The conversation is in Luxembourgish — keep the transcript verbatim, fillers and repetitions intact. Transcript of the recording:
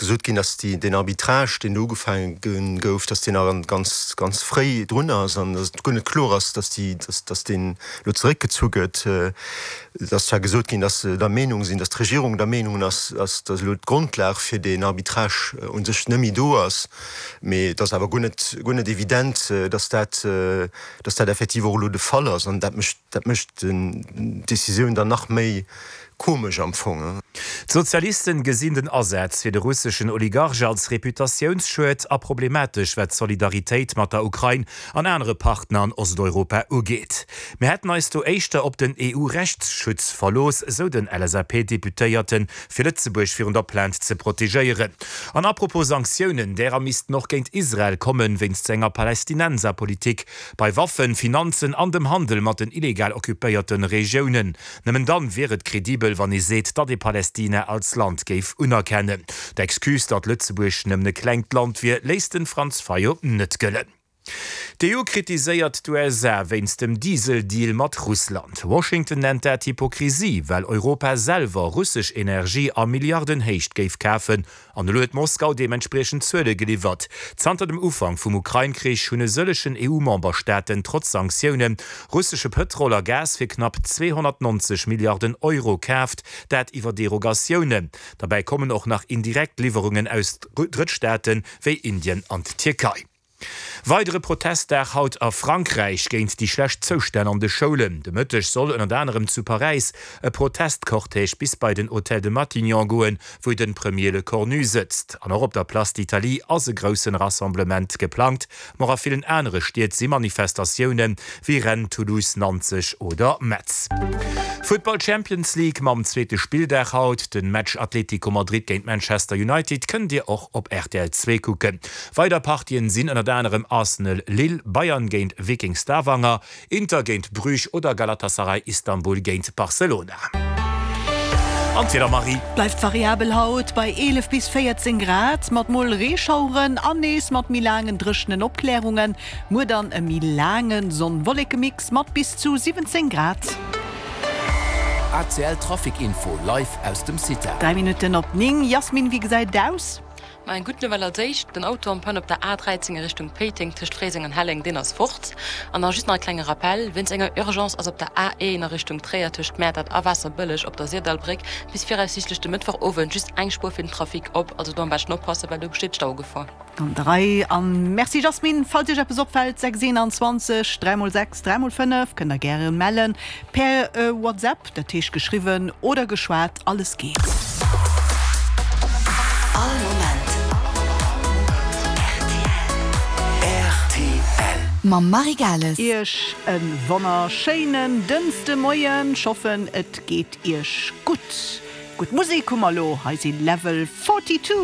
gesot ginn, dass déi, deen Arbitrage, deen do ugefaange gouf, dass deen nach ganz, ganz fréi drun ass an dass et guer net kloer ass, dass déi, dass, dass deen elo zeréckgezu gëtt. Et ass zwar gesot ginn, dass se der Meenung sinn, dass d'Regierung der Meenung ass, dass, dass elo d'Grondlag fir deen Arbitrage u sech net méi do ass, mee et ass awer guer net, guer net evident, dass dat, dass dat effektiv och elo de Fall ass an dat mécht, dat mécht d'Decisioun dann nach méi komesch am Fong. D'Sozialisten gesinn den Asaz fir de russeschen Oligarch als Reputatiounsschued a problematesch wat d'Solidaritéit mat der Ukrain an anere Partner an Osteuropa ugeet. Mir hätten eis do éischter op den E U-Rechtsschutz verlooss, sou den L S A P-Deputéierten, fir Lëtzebuerg virun der Plainte ze protegéieren. An apropos Sanktiounen, därer missten och géint Israel kommen, wéinst senger Palästinenserpolitik bei Waffen, Finanzen an dem Handel mat den illegal occupéierte Regiounen. Nëmmen dann wier et kredibel, wann ee seet, datt ee Palästina als Land géif unerkennen. D'Excuse, datt Lëtzebuerg nëmmen e klengt Land wier, léisst de Franz Fayot net gëllen. D'E U kritiséiert d'U S A wéinst dem Dieseldeal mat Russland. Washington nennt dat Hypokrisie, well Europa selwer russesch Energie a Milliardenhéicht géif kafen an elo huet Moskau deementspriechend Zuele geliwwert. Zanter dem Ufank vum Ukrain-Krich hunn e sëllegen E U-Memberstaaten trotz Sanktioune russesche Pëtrol a Gas fir knapp zweehonnertnonzeg Milliarden Euro kaaft, dat iwwer Derogatiounen. Derbäi kommen och nach indirekt Liwwerungen aus Drëttstaaten wéi Indien an d'Tierkei. Weidere Protestdag haut a Frankräich géint déi schlecht Zoustänn an de Schoulen. De Mëtteg soll ënnert anerem zu Paräis e Protestcortège bis bei den Hôtel de Matignon goen, wou de Premier Lecornu sëtzt. An och op der Place d'Italie ass e grousse Rassemblement geplangt, ma och a villen anere Stied si Manifestatiounen, wéi Rennes, Toulouse, Nanzeg oder Metz. Futtball Champions League mam zweete Spilldag haut, de Match Atlético Madrid géint Manchester United kënnt Dir och op R T L zwee kucken. Weider Partien sinn ënnert anerem Arsenal Lille, Bayern géint Viking Stavanger, Inter géint Bruges oder Galatasaray Istanbul géint Barcelona. An d'Wieder, Marie. Bleift variabel haut bei eelef bis véierzéng Grad, mat mol Reeschaueren an nees mat méi laangen dréchenen Opklärungen. Muer dann e méi laange Sonn-Wolleke-Mix mat bis zu siwwenzéng Grad. A C L Trafic Info live aus dem CITA. Dräi Minutten op néng. Jasmin, wéi gesäit et aus? Ma eng gutt Nouvelle als éischt, den Auto en panne op der A dräizéng a Richtung Péiteng tëscht Fréiseng an Helleng, deen ass fort. An da just nach e klenge Rappel, Wéinst enger Urgence ass op der A een a Richtung Tréier tëscht Mäertert a Waasserbëlleg op der Syrdallbréck bis viraussiichtlech de Mëttwochowend just eng Spuer fir den Trafic op. Also do am beschten oppassen, well do besteet Staugefor. An der Rei an Merci Jasmin. Falls Iech eppes opfält, sechs eenanzwanzeg dräi mol sechs dräi mol fënnef kënnt der gäre mellen per WhatsApp, dat heescht geschriwwen oder geschwat, alles geet. All Moment R T L. Mam Marie Gales. Iech e wonnerschéinen Dënschdemoien, ech hoffen et geet Iech gutt. Gutt Musek hu mer elo, hei si Level forty two.